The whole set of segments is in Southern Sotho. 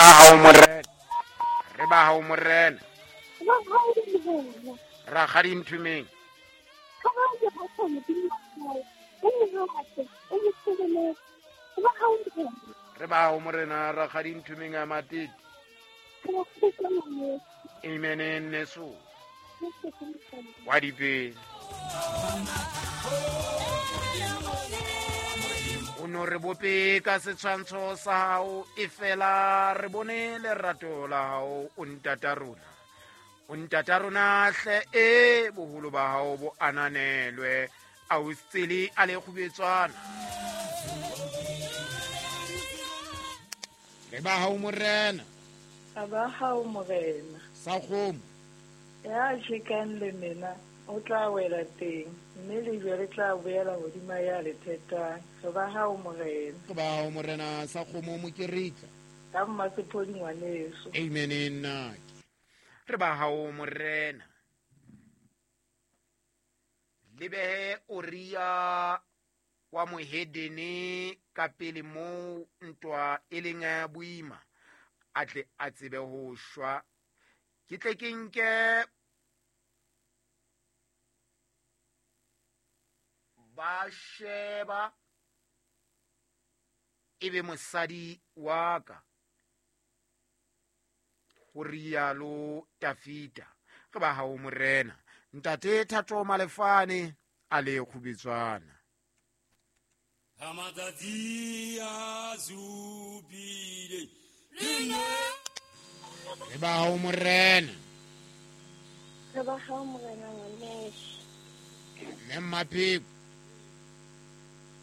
Ba hao morena. Re ba hao morena. Ba hao morena. Rakgadi Nthumeng. Re ba hao morena rakgadi Nthumeng a Matete. Amen nneso. Wa dipele. O no re bope ka setshwantsho sa hao e fela re bone lerato la hao o ntata rona. O ntata rona hle e boholo ba hao bo ananelwe a o tsele a le kgubetswana. Re ba hao morena. A ba hao morena. Sa kgomo. Ya tjhekang lemena o tla wela teng, mme lejwe le tla boela hodima ya le thetang. Re ba hao morena. Re ba hao morena sa kgomo mokeritla. Ka mmasephodi ngwaneso. Amen nnake. Re ba hao morena. Le behe Uria wa mohedene ka pele moo ntwa e leng boima, a tle a tsebe ho shwa. Ke tle ke nke ba sheba e be mosadi wa ka, ho rialo Tafita. Re ba hao morena. Ntate Thato Malefane a le kgubetswana. Ha matsatsi a supile. Re ba hao morena. Re ba hao morena ngwaneso. Mme Mmapheko.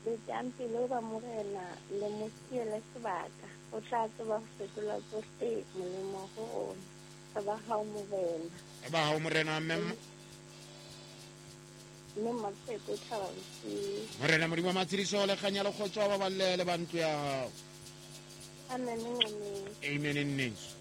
Betang pelo ba morena le mo siele sebaka. O tla tseba ho fetola tsohle molemo ho rona. Re ba hao morena. Re ba hao morena mme Mme Mmapheko thaba bosiu. Morena Modimo wa matshediso le kganya le kgotso ba balle le ba ntlo ya hao. Amen ngwaneso. Amen nneso.